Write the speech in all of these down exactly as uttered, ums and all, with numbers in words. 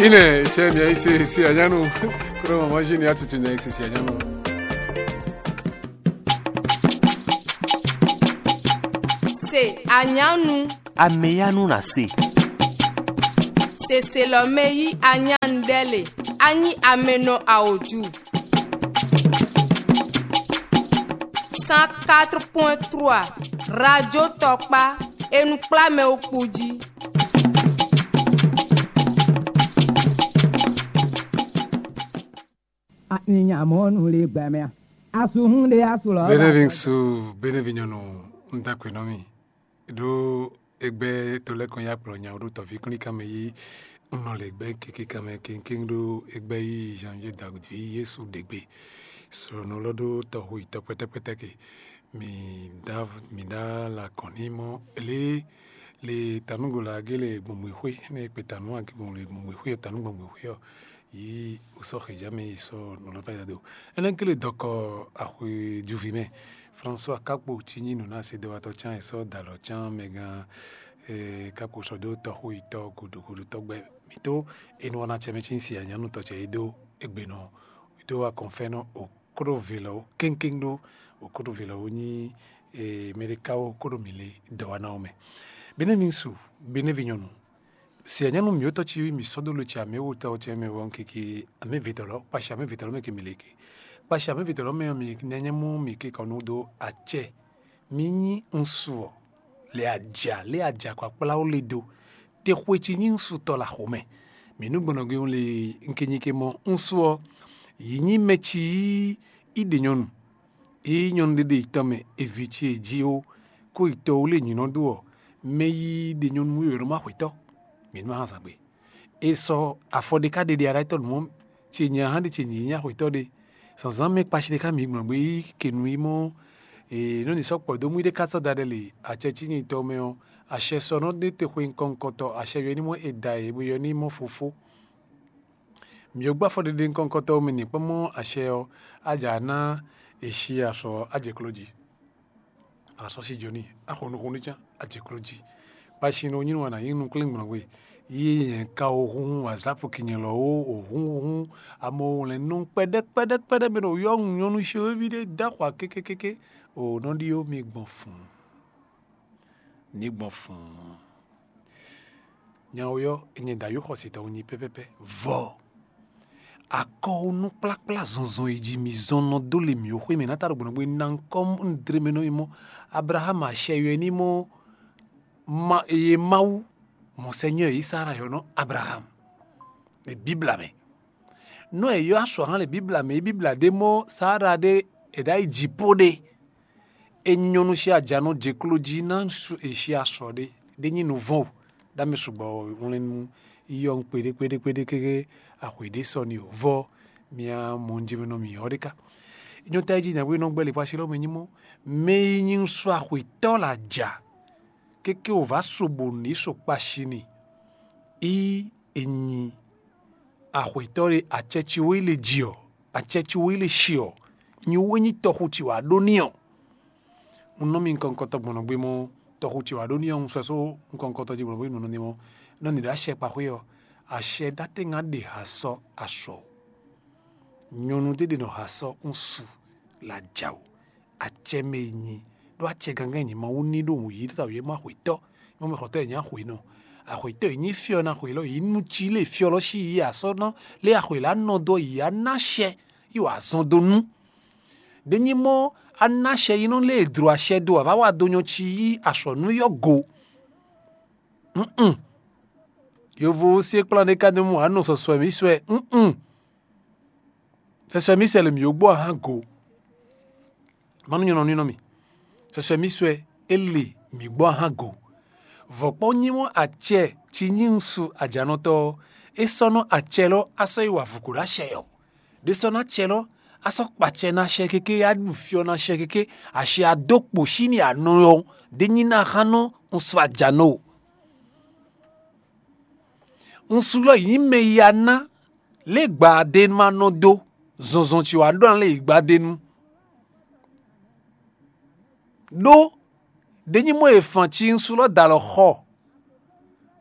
Ine, che mi aise si anyanu. Kuro mama jini atutu ni aise si anyanu. Se anyanu. Ameyanu na se. Seselɔmɛ yi anyanu ɖe le. Anyi amenɔ aoju. Cent quatre point trois, Radio Tɔkpa, e nɔ kplá mɛ wo kpo jí. Anyamɔnu le gbɛmɛ. Asuhun de asulɔ. Benevinsu, benevinyɔnu, un da kwe nɔ mi. Ɖó egbé to lɛ́ kɔn nyi akplɔ nya ɖó tɔví kplíkan mɛ yí un nɔ le gbɛ́ keke kanmɛ kéŋkéŋ ɖó egbé yí Janvier David ví Yésu ɖe gbe. Srɔ̌nɔ lɔ ɖó tɔxu yi tɔ kpɛ́tɛ́kpɛ́tɛ́ ke. Mi ɖá mi ɖá la kɔn ní mɔ lě le tanúgo la gé le gbɔngbɔn xwé ne kpe tanú ake gbɔn le gbɔngbɔn xwé ɔ tanú gbɔngbɔn xwé ɔ yí wosɔ xeja mɛ yi sɔ nɔlɔta ya do. Ɛnɛ kele dɔkɔ axwe juvi mɛ. François Kakpo tí nyí nǔnásedɔwatɔ́ cán e sɔ́ dalɔ cán mɛ gán Kakpo sɔ́ dó tɔxu yi tɔ godogodo tɔgbɛ mǐtó e nɔ ná cɛ mɛ cí si anyanu tɔ cɛ yi dó egbenɔ dó akɔnfɛnɔ okrovelɔ kéŋkéŋ ɖó okrovelɔ nyí mɛɖekáwo kóɖo mǐ le dɔwana ɔ́ mɛ. Benɛ́ mi su, benɛ́ vi nyɔnu, si anyanu mǐ tɔ́ cí mǐ sɔ́ dó lo ce amɛ́ wotɔ ce mɛ wɔ keke amɛ́ vetɔlɔ kpashi amɛ́ vetɔlɔ mɛ ke mǐ le ke kpashi amɛ́ vetɔlɔ mɛ ɔ́ mǐ nɛ́ nyɛ mú mǐ ke kɔ nú dó acɛ. Mi nyí ŋsu ɔ́, lě aja lě aja kɔ akplá ó le dó. Te xwe ci nyí ŋsu tɔ la xomɛ. Mǐ nú gbɔnɔgbé le un ke nyi ke mɔ ŋsu ɔ́, yǐ nyí mɛ ci yí í ɖe nyɔnu. Ée nyɔnu ɖé ɖe yi tɔn mɛ, è vi ce è ji ó, kó yi tɔ wú lé nyǐ nɔ ɖó ɔ́, mɛ yíyí ɖe nyɔnu wú è nɔ má xwetɔ́. Mǐ nú hán zǎn gbe. È sɔ afɔ ɖé ká ɖe ɖe aɖátɔ́ nǔ ɔ́, ce nyɛ hán ɖe ce nyǐ nyí axwetɔ́ ɖé. Zǎnzǎn mɛ kpashi ɖé ká mǐ gbɔn gbé yí ke nǔ yi mɔ è nɔ ní sɔ́ kpɔ̌ dó mú ɖé ká sɔ́ da ɖɛ lě acɛ cí nyi tɔ mɛ ɔ́, acɛ sɔ nɔ ɖe te xwe nukɔn nukɔntɔ acɛ yɔ ní mɔ è da è bo yɔ ní mɔ fofó. Mǐ gbɔ afɔ ɖeɖe nukɔn nukɔntɔ mɛ ní kpɔ́n mɔ acɛ ɔ́, á jǎ ná è cí asɔ á jɛ kló jí. Asɔ sí jɔ n'i, axɔnuxɔnu cán, a jɛ kló jí. Kpasin ɔ́ nyí nú wa nǎ nyí nukúnlɛ́ngbɔ́n we. Yí nyɛ ka wǒ húnhún wǎzápu kinyɛ lɔ wó wǒ húnhún amɔ wlɛ̌n nú kpɛɖɛ́ kpɛɖɛ́ kpɛɖɛ́ mɛ ɖo yɔ́hun nyɔ́nu xwéví ɖé dó axwa kékékéké. O nɔ ɖíó mi gbɔn fun. Mi gbɔn fun. Nyawo yɔ, nyɛ da yó xɔsitɔ nyi pɛpɛpɛ. Vɔ akɔwunukplakpla zɔnzɔn yi jí mi zɔn nɔ dó le mǐ xwé mɛ ná ta ɖo gbɔnɔgbé ná ŋkɔ un dre mɛ nɔ yi mɔ Abraham acɛ yɔ ní mɔ ma eye Mawu mɔ Seigneur yi Sara yɔ nɔ Abraham. E Bibla mɛ. Nɔ e yɔ asɔ hã le Bibla mɛ, e Bibla ɖe mɔ Sara ɖe e ɖa yi jǐ po ɖe. E nyɔnu si ajanɔ jɛ klo jí ná su e si asɔ ɖe ɖe nyi nuvɔn o. Ɖa mi sugbɔ wlɛn nu yɔ kpeɖe kpeɖe kpeɖe keke axwe ɖe sɔ ni o vɔ mia mɔ nje mi nɔ mi yɔ ɖe ka. Nyɔta yi jí nyagbe nɔ gbɛ le xwasi lɔ mɛ nyi mɔ mɛ yi nyi su axwetɔ la ja keke o va so bo ni so kpashi ni. Yi e nyi axwetɔ ɖe acɛ ci wo yi le ji ɔ acɛ ci wo yi le shi ɔ nyi wo nyi tɔxu ci wa ɖo ni ɔ. Un nɔ mi nukɔn nukɔntɔ gbɔn nɔ gbe mɔ tɔxu ce wá ɖó ní ɔ́ un sɔ́ só nukɔn nukɔntɔ jí gbɔn nɔ gbe nɔ ní mɔ nɔ ní ɖo acɛ kpa xwé ɔ́, acɛ ɖatɛ́ ŋá ɖe ha sɔ́ asɔ. Nyɔnu ɖé ɖe nɔ ha sɔ́ un su la ja o. Acɛ mɛ e nyi ɖó acɛ gangán nyi Mawu ní ɖó wǔ yí ta wǔ é má xwetɔ́, mɔ mɛ xɔtɔ́ e nyí axwě nɔ. Axwetɔ́ e nyí fyɔ́ ná xwě lɔ yí nú cí lé fyɔ́ lɔ sí yí asɔ́ ná lé axwě lá nɔ dó yí á ná acɛ yi wǎ zɔn dó nú. Ɖé nyí mɔ á ná acɛ yi nɔ lé e dlǒ acɛ do avǎwa do nyɔ ci yí asɔ̌ nú yɔ́ go. Nn. Yovo se kplán ɖé ka dó mɔ anɔ sɔsɔ mǐ sɔɛ. Nn. Sɔsɔ mǐ sɛ le mǐ yó gbɔ ahán go. Manu nyɔnɔ nínɔ mì. Sɔsɔ mǐ sɔɛ é le mǐ gbɔ ahán go. Vɔ̌kpɔ́ nyí mɔ acɛ ci nyí ŋsu ajanɔtɔ́ ɔ́, é sɔ́ nɔ acɛ lɔ á sɔ́ yi wa vǔ kó ɖo acɛ ɔ́. Ɖé sɔ́ ná acɛ lɔ á sɔ́ kpacɛ ná acɛ kéké á ɖu fyɔ́ ná acɛ kéké acɛ a dó kpo sí ni anɔ ɔ́, ɖé nyí ná hán nɔ un sɔ́ ajanɔ o. Un su lɔ yǐ mɛ ya ná lě gbadenu ma nɔ dó zɔnzɔn ci wǎ ɖó ná lě yǐ gbadenu. Ɖó ɖényí mɔ e fan ci un su lɔ da alɔ xɔ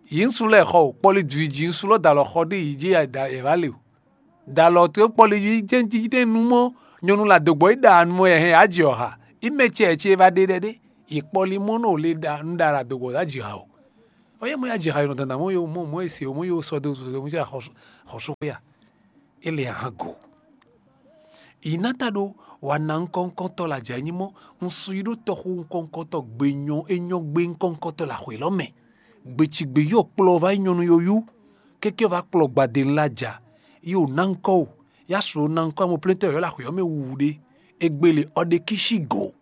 Yi ŋsu lɛ́ɛ xɔ o, kpɔli ju yi ji ŋsu lɔ da alɔ xɔ ɖé yi jí da yɛ va le o. Da alɔ to kpɔli yi jɛ́n jí ɖé nu mɔ nyɔnu la do gbɔ yi da nu mɔ yɛ hɛn ya ji ɔha. Yi mɛ cɛ ce va ɖe ɖɛ ɖé. Yi kpɔli mɔ nɔ le da nu da la do gbɔ ya ji ha o. Ɔyɛ mɔ ya ji ha yi nɔ dandan mɔ yo mɔ mɔ ese o mɔ yo sɔ do do mɔ ja xɔ xɔ so ya. E le ahan go. Yi ná ta ɖó wa ná ŋkɔ́ŋkɔ́tɔ́ la jɛ nyí mɔ un su yi ɖó tɔxu ŋkɔ́ŋkɔ́tɔ́ gbe nyɔ e nyɔ gbe ŋkɔ́ŋkɔ́tɔ́ la xwě lɔ mɛ. Gbecigbe yɔ kplɔ va nyɔnu yoyú, kéké va kplɔ gbadenu la ja, yi o ná ŋkɔ o, ya su o ná ŋkɔ amɔ plɛ́ntɔ́ yɔ la xwě ɔ́ mɛ wuwu ɖé. Egbe le ɔ ɖe kísi go.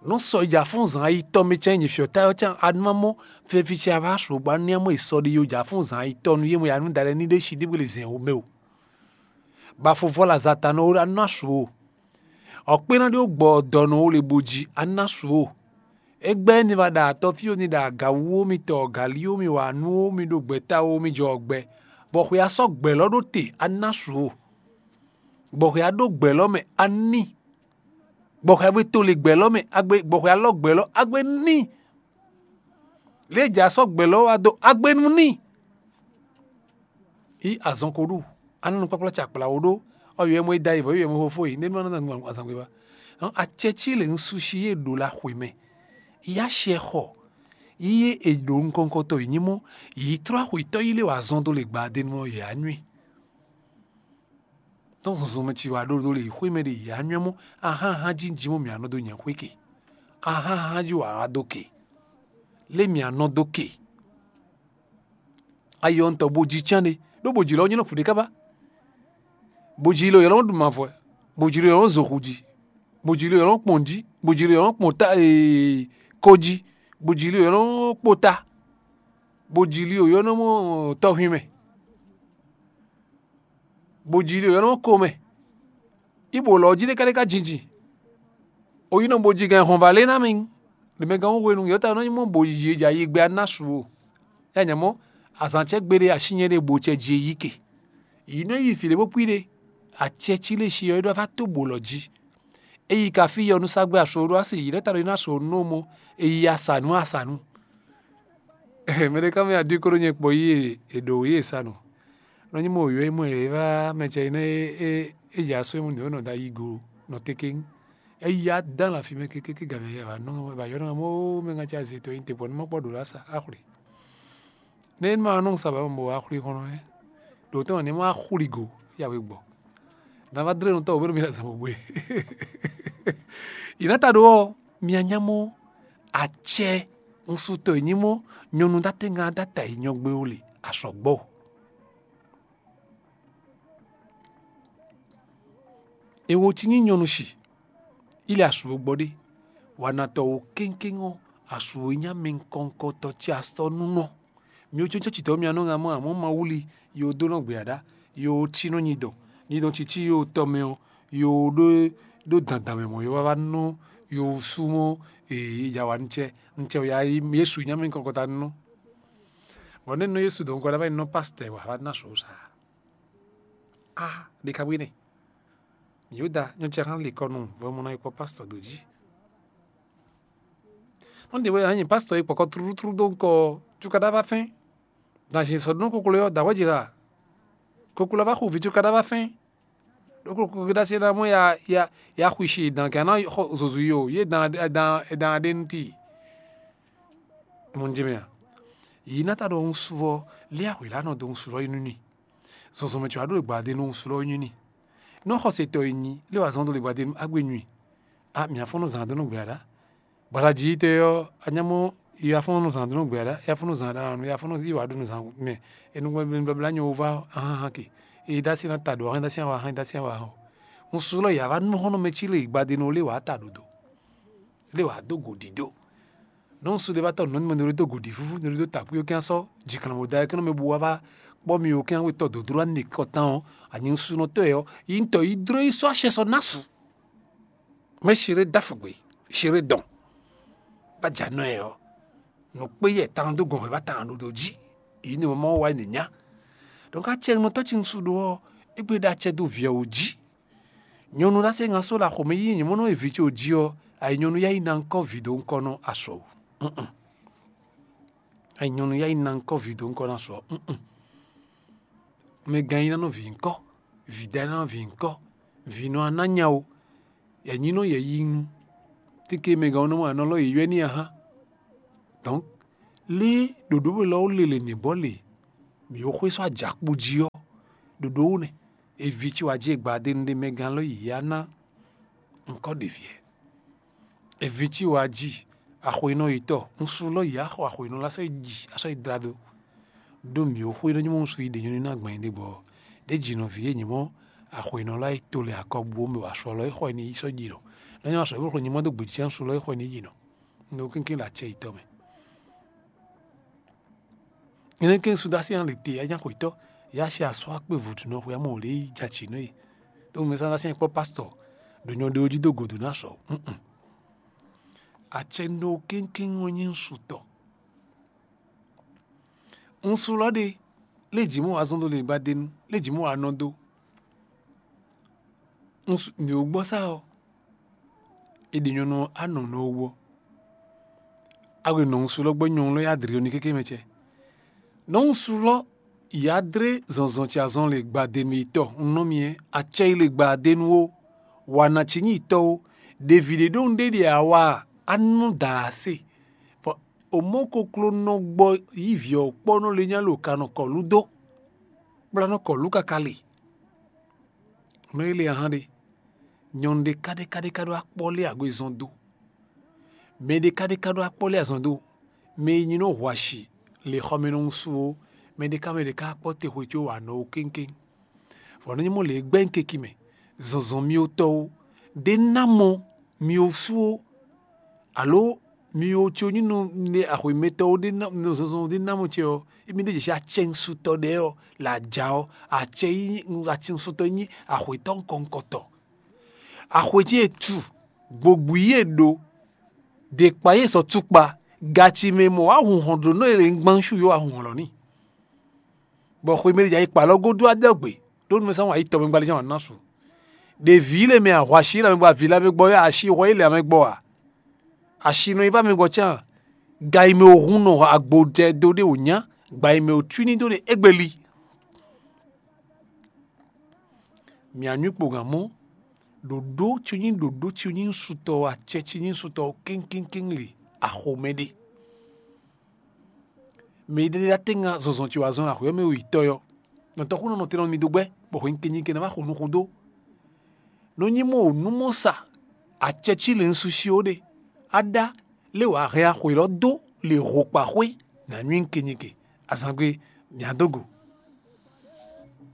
Nú sɔ yi jǎ fún zǎn ayitɔ́ mɛ cɛ́n nyi fyɔ̌ ta ɔ́ cán a nú má mɔ feví ce a vá su gbá nú amɔ yi sɔ ɖi yo jǎ fún zǎn ayitɔ́ nú yé mɔ ya nú da lɛ́ɛ ní ɖé si ɖíbwé le zɛ̌n wú mɛ o. Bafo vɔ la zata nɔ a nú asu o. Ɔkpé ná ɖó gbɔ dɔ nɔ wo le bo jí a nú asu o. É gbɛ́ ní va ɖa atɔ́ fí ní ɖa agawú ó mi tɔ galí ó mi wa nú ó mi ɖo gbɛ̌ta ó mi jɔ gbɛ, bɔ xwe a sɔ́ gbɛ̌ lɔ ɖó te a nú asu o. Bɔ xwe a ɖó gbɛ̌ lɔ mɛ a ní. Gbɔxwe agbe to le gbɛ lɔ mɛ agbe gbɔxwe alɔ gbɛ lɔ agbe ní. Lě ja sɔ́ gbɛ lɔ wá dó agbe nú ní. Yí azɔn ko ɖu a nɔ nukpakpla ce akpla wo ɖó. Ɔ yɔ mɔ e da yi vɔ yɔ mɔ fofo yi ne nɔ nɔ azangbe ba. Acɛ ci le ŋsu si ye ɖo la xwe mɛ. Yá shɛ xɔ. Yí ye e ɖo nukɔnkɔtɔ yi nyí mɔ. Yi trɔ axwetɔ yi le wa azɔn do le gba de nɔ yɛ anyui. Tɔn zɔnzɔnmɛ ci wá ɖó ɖó le xwé mɛ ɖe yě anyɔ́ mɔ ahán ahán jí jí mɔ mǐ anɔ dó nyɛ xwé ke. Ahán ahán jí wǎ wá dó ke. Lé mǐ anɔ dó ke. Ayɔ ŋutɔ bo jí cán ɖe ɖó bòjì lɔ nyɔ́ nɔ fǔɖé kábá. Bòjì lɔ yɔlɔ ɖu mavɔ. Bòjì lɔ yɔlɔ zoxu jí. Bòjì lɔ yɔlɔ kpɔn jí. Bòjì lɔ yɔlɔ kpɔn ta ee ko jí. Bòjì lɔ yɔlɔ kpó ta. Bòjì lɔ yɔlɔ mɔ tɔhwin mɛ. Bòjì lɔ yɔlɔ ko mɛ. Ibo lɔ jí ɖé ká ɖé ká jinjin. Oyi nɔ bo jí gɛn hɔn va lé ná mi. Ɖe mɛ gán hwenu yɔta nɔ nyí mɔ bòjì e jà yi gbɛ aná su o. Yá nyɛ mɔ azǎn cɛ gbeɖé asínyɛ ɖé bo cɛ jí e yí ke. Yi nɔ yi fǐ ɖé bó kpí ɖé. Acɛ cí lé si ɔ́ é ɖɔ va tó bò lɔ jí. Eyi ka fí yɔ nú sagbé aso ɖó asi yi ɖɛ́ ta ɖo yi ná so nú mɔ eyi asanu asanu. Mɛ ɖé ká mɛ adí kóɖó nyɛ kpɔ yí è ɖǒ yí è sa nɔ. Nɔ nyí mɔ wěwé mɔ è vá mɛ cɛ yi nɛ é é dza só é mu nǔ é nɔ da yi go nɔ tékéŋ. Eyi adán la fi mɛ kékéké gamɛ yɛ va nɔ va yɔ nɔ mɔ mɛ ŋa ca zé tɔ yi te bɔ nú ma kpɔ ɖǒ la sa axwlé. Nɛ é ma nɔ sa ba mɔ axwlé xɔnɔ é. Ɖǒ tɔn ní ma axwlí go yá wé gbɔ. Dan va dlé nɔ tɔ wǒ bɛ nɔ mi la zan bó bwé. Yi ná ta ɖó ɔ́, mi anya mɔ acɛ ŋsutɔ e nyí mɔ nyɔnu ɖatɛ́ ŋa ɖata yi nyɔgbe wo le asɔgbɔ. Ewo ci nyí nyɔnu shi, ile asu wo gbɔ ɖé. Wanatɔ wo kéŋkéŋ ɔ́, asu wo nyí amɛ ŋkɔŋkɔtɔ ci asɔ nú nɔ. Mi wo cócó citɔ mi anɔ ŋa mɔ amɔ ma wuli yo dó nɔ gbé aɖá, yo ci nɔ nyi dɔn nyi dɔn cici yo tɔ mɛ ɔ, yo ɖó ɖó dandan mɛ mɔ yo va va nɔ yo súnmɔ. Ee ja wa nitsɛ nitsɛ ya Yesu nya mi kɔkɔta nɔ. Vɔ ne nɔ Yesu dɔn kɔ va nɔ pastɛ wa va na so sa. A ɖe ka bwi ne. Yuda nyɔ cɛ hã li kɔ nɔ vɔ mɔ na yi kpɔ pastɛ do jí. Nɔ ɖe wɛ anyi pastɛ yi kpɔkɔ trútrú dó ŋkɔ cukaɖa va fɛn. Dan si sɔ ɖo nú koklo yɔ da wɛ ji ha. Koklo va xo vi cukaɖa va fɛn. Ɖoklo koklo ɖa se na mɔ ya ya ya xwi si dan kɛ na xɔ zozu yi o ye dan dan dan ɖe nti. Mo ŋ jɛ mɛ a. Yi na ta ɖo ŋsu vɔ lé axwe la nɔ do ŋsu vɔ yi nú ni. Zɔzɔmɛ tso aɖo le gbadenu ŋsu lɔ yi nú ni. Nɔ xɔsetɔ yi nyi lé wa zɔn do le gbadenu agbe nyui. A mia fɔn nɔ zan do nɔ gbɛ aɖa. Gbalaji tɛ ɔ anyamɔ yafɔnɔ zan do nɔ gbɛ aɖa yafɔnɔ zan aɖa nɔ yafɔnɔ yi wa ɖo nɔ zan mɛ. Enugbe blabla nyɔ wo va ahan ke. Eyi dasi na ta ɖo ahan dasi awa ahan dasi awa ahan. Ŋsu lɔ ya va nɔ xɔnɔ mɛ ci le gbadenu lé wa ta ɖo do. Lé wa do go ɖiɖo. Nɔ ŋsu ɖe va tɔ nɔ nyɔ ne ɖo do go ɖi vuvu ne ɖo do ta kú yo kɛn sɔ. Jiklan wo da kɛn mɛ bu wa va kpɔ mi yo kɛn we tɔ dodro ani kɔtan ɔ. Anyi ŋsu nɔ tɔ yɔ yi ŋtɔ yi dro yi sɔ asɛ sɔ na su. Mɛ si ɖe da fugbe si ɖe dɔn. Ba dza nɔ yɛ ɔ. Nɔ kpe yɛ tan do gɔn hwɛ va tan ɖo do jí. Yi ne mɔ wa ne nya. Donc acɛ nɔ tɔ ci ŋsu ɖo ɔ. Egbe ɖe acɛ do viɛ wo jí. Nyɔnu ɖa se ŋa so la xɔmɛ yi nyɛ mɔ nɔ evi ce o jí ɔ. Ayi nyɔnu ya yi na ŋkɔ vi do ŋkɔ nɔ asɔ o. Nyɔ̌nu yá yi ná ŋkɔ́ vǐ dó ŋkɔ́ ná sɔ ɔ́. Mɛ gán yi ná nɔ vǐ ŋkɔ́, vǐ dá yi ná nɔ vǐ ŋkɔ́, vǐ nɔ ná nya o, yɛ nyí nɔ yɛ yi nu. Tike mɛ gán nɔ mɔ anɔ lɔ yě ywɛ́ n'i a hán. Donc lé ɖoɖó we lɔ ó lele nǐ bɔ le mǐ xwé sɔ́ ajakpo jí ɔ́, ɖoɖó wú nɛ. Eví ci wá jí e gbadé nu ɖé mɛ gán lɔ yě yá ná ŋkɔ́ ɖě viɛ. Eví ci wá jí axɔyinɔ yětɔn, un sú lɔ yě axɔ axɔyinɔ lá sɔ́ yi ji asɔ́ yi dlá dó. Ɖó mǐ ó xwé nɔ nyí mɔ un sú yi ɖě nyɔ́ ní ná gbɛn ɖé gbɔ. Ɖě jǐ nɔví e nyí mɔ axɔyinɔ lá yi to lɛ akɔbu ó mɛ wá sɔ lɔ é xɔ yi ní yi sɔ́ ji nɔ. Nɔ nyí wá sɔ é bó xɔ nyí mɔ dó gbějì un sú lɔ é xɔ yi ní yi nɔ. Un ɖo kínkín ɖo acɛ yětɔn mɛ. Énɛ́ kɛ́n Sudási hɛn lě te anyáxwetɔ́, yá ṣe asɔ́ akpé vǔdunɔ xwe amɔ wǒ lě yi jɛ acǐ nú e. Ɖó mɛ Sudási hɛn kpɔ́ pásítɔ ɖo nyɔ ɖé jí dó gǒdo ná sɔ. Acɛnɔ kéŋkéŋ ɔ́ nyí ŋsu tɔn. Ŋsu lɔ ɖe, lé jǐ mɔ wá zɔn dó lě gbadenu, lé jǐ mɔ wá nɔ dó. Ŋsu ní wú gbɔ sá ɔ́, è ɖi nyɔ̌nu ɔ́ anɔ nɔ wú ɔ́. A hwe nɔ̌ ŋsu lɔ gbɔ nyɔ̌nu lɔ yi adri ɔ́ ní kéké mɛ cɛ. Nɔ̌ ŋsu lɔ yi adré zɔnzɔn ce azɔn le gbadenu yi tɔ un nɔ mi ɛ, acɛ yi le gbadenu ó, wa na ci nyi tɔ ó, ɖevi ɖé ɖó un ɖe ɖe awa a nɔ da ase. Bɔ o mɔ koklo nɔ gbɔ yi vǐ ɔ́ kpɔ nɔ le nya lo ka nɔ kɔlu dó, kplá nɔ kɔlu kaka le. Nɔ yi le ahan ɖe, nyɔ̌nu ɖé ká ɖé ká ɖé ká ɖó akpɔ lé agbezɔn dó. Mɛ ɖé ká ɖé ká ɖó akpɔ lé azɔn dó. Mɛ e nyi nɔ hu asi le xɔmɛ nɔ ŋsu ó, mɛ ɖé ká mɛ ɖé ká akpɔ te xwe có wa nɔ ó kéŋkéŋ. Vɔ nɔ nyí mɔ lě e gbɛ́ keki mɛ, zɔnzɔn mi ó tɔ́ ó, ɖé ná mɔ mi ó sú ó, alo mi ó có nyí nɔ ne axwemɛtɔ́ ó ɖé ná nɔ zɔnzɔn ɖé ná mɔ ce ɔ́, émi ɖé jɛ acɛŋsutɔ ɖɛ ɔ́ le aja ɔ́, acɛ yi acɛŋsutɔ nyí axwetɔ́ ŋkɔŋkɔtɔ. Axwe ce e tu gbogbo yi e ɖo ɖe kpa yi e sɔ tukpa gaci mɛ mɔ wá hun hɔn ɖo nɔ e le ŋgbán su yó wá hun hɔn lɔ n'i. Bɔ xwe mɛ ɖé jɛ ayi kpa lɔ godo adɔgbe ɖó nu mɛ sán wǎn yi tɔmɛ gbali jɛ́n wǎn ná su. Ɖevi le mɛ ahwashi le amɛ gbɔ avi le amɛ gbɔ yɔ asi hwɛ yi le amɛ gbɔ a? Asi nɔ yi va amɛ gbɔ can. Ga yi mɛ ohun nɔ agbo ɖɛ dó ɖe wònya, gba yi mɛ otwini dó ɖe égbeli. Mǐ anyú kpo gǎn mɔ́, ɖoɖó ci nyí ɖoɖó ci nyí sutɔ, acɛ ci nyí sutɔ kéŋkéŋkéŋ le axomɛ ɖe. Mɛ ɖé ɖá tɛ́nga zɔnzɔn ce wá zɔn axɔ́ mɛ yi tɔ́ yɔ. Nɔtɔ́ kún nɔ nɔtɛn nɔ mi dó gbɛ́, bɔ hwenu ke nyi ke ná wá xo nukún dó. Nɔ nyí mɔ nǔ mɔ sa acɛ cí le nsusi ó ɖe. Á ɖá lé wǎ hɛn axwe lɔ dó le hokpa xwé nǎ nywí nkenyike. Azǎngbe mǐ á dó go.